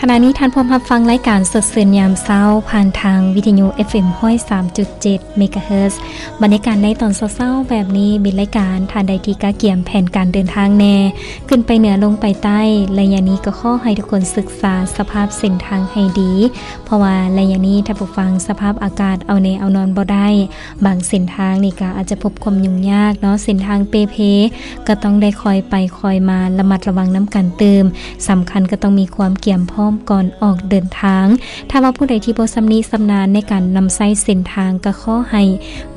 ຂະນະນີ້ທ່ານພວມຮັບຟັງລາຍການສົດຊື່ນຍາມເຊົ້າ ຜ່ານທາງວິທະຍຸ ເອັຟເອັມ ຮ້ອຍສາມຈຸດເຈັດ ເມກາເຮີດ. ບັນຍາກາດໃນຕອນເຊົ້າໆແບບນີ້ ມີລາຍການ ທ່ານໃດທີ່ກະກຽມແຜນການເດີນທາງແດ່ ຂຶ້ນໄປເໜືອລົງໄປໃຕ້ ໄລຍະນີ້ກໍຂໍໃຫ້ທຸກຄົນສຶກສາສະພາບເສັ້ນທາງໃຫ້ດີ ເພາະວ່າໄລຍະນີ້ທ່ານຜູ້ຟັງ ສະພາບອາກາດເອົາແນ່ເອົານອນບໍ່ໄດ້ ບາງເສັ້ນທາງນີ້ກໍອາດຈະພົບຄວາມຫຍຸ້ງຍາກເນາະ ເສັ້ນທາງເປ່ເພ ກໍຕ້ອງໄດ້ຄ່ອຍໄປຄ່ອຍມາ ລະມັດລະວັງນຳກັນຕື່ມ. ສຳຄັນກໍຕ້ອງມີຄວາມກຽມພ້ອມກ່ອນອອກເດີນທາງ. ຖ້າວ່າຜູ້ໃດທີ່ບໍ່ຊຳນິຊຳນານໃນການນຳໃຊ້ເສັ້ນທາງ ກໍຂໍໃຫ້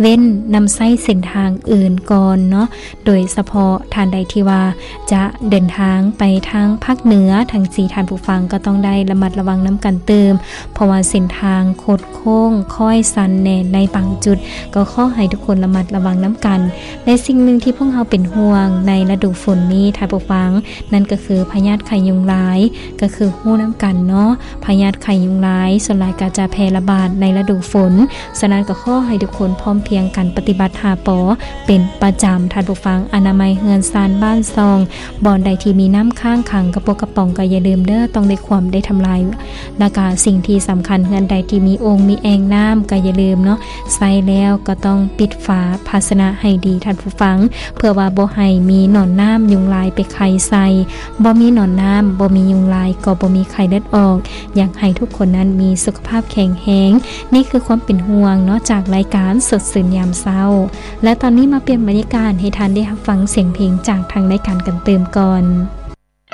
ເວັ້ນນຳໃຊ້ເສັ້ນທາງອື່ນກ່ອນເນາະ ໂດຍສະເພາະທ່ານໃດທີ່ວ່າຈະເດີນທາງໄປທາງພາກເໜືອ ທັງສີ່ທ່ານຜູ້ຟັງກໍຕ້ອງໄດ້ລະມັດລະວັງນຳກັນຕື່ມ ເພາະວ່າເສັ້ນທາງຄົດໂຄ້ງຄ້ອຍຊັນແດ່ໃນບາງຈຸດ ກໍຂໍໃຫ້ທຸກຄົນລະມັດລະວັງນຳກັນ. ແລະ ສິ່ງໜຶ່ງທີ່ພວກເຮົາເປັນຫ່ວງໃນລະດູຝົນນີ້ ທ່ານຜູ້ຟັງ ນັ້ນກໍຄືພະຍາດໄຂ້ຍຸງລາຍ ກໍຄືຮູ້ນຳກັນເນາະ ພະຍາດໄຂ້ຍຸງລາຍສ່ວນຫຼາຍກໍຈະແຜ່ລະບາດໃນລະດູຝົນ. ສະນັ້ນກໍຂໍໃຫ້ທຸກຄົນພ້ອມພຽງກັນປະຕິບັດຫ້າ ປ ເປັນປະຈຳ ທ່ານຜູ້ຟັງ ອະນາໄມເຮືອນຊານບ້ານຊ່ອງ ບ່ອນໃດທີ່ມີນ້ຳຄ້າງຂັງ ກະປົກກະປ໋ອງກໍຢ່າລືມເດີ ຕ້ອງໄດ້ຂວ້ຳໄດ້ທຳລາຍ ແລ້ວກະສິ່ງທີ່ສຳຄັນ ເຮືອນໃດທີ່ມີໂອ່ງມີແອ່ງນ້ຳກໍຢ່າລືມເນາະ ໃຊ້ແລ້ວກໍຕ້ອງປິດຝາພາຊະນະໃຫ້ດີທ່ານຜູ້ຟັງ ເພື່ອວ່າບໍ່ໃຫ້ມີໜອນນ້ຳຍຸງລາຍໄປໄຂ່ໃສ່. ບໍ່ມີໜອນນ້ຳ ບໍ່ມີຍຸງລາຍ ກໍບໍ່ມີໄຂ້ເລືອດອອກ. ຢາກໃຫ້ທຸກຄົນນັ້ນມີສຸຂະພາບແຂງແຮງ. ນີ້ຄືຄວາມເປັນຫ່ວງເນາະ ຈາກລາຍການສົດຊື່ນຍາມເຊົ້າ. ແລະ ຕອນນີ້ມາປ່ຽນບັນຍາກາດໃຫ້ທ່ານໄດ້ຮັບຟັງສຽງເພງຈາກທາງລາຍການກັນຕື່ມກ່ອນ.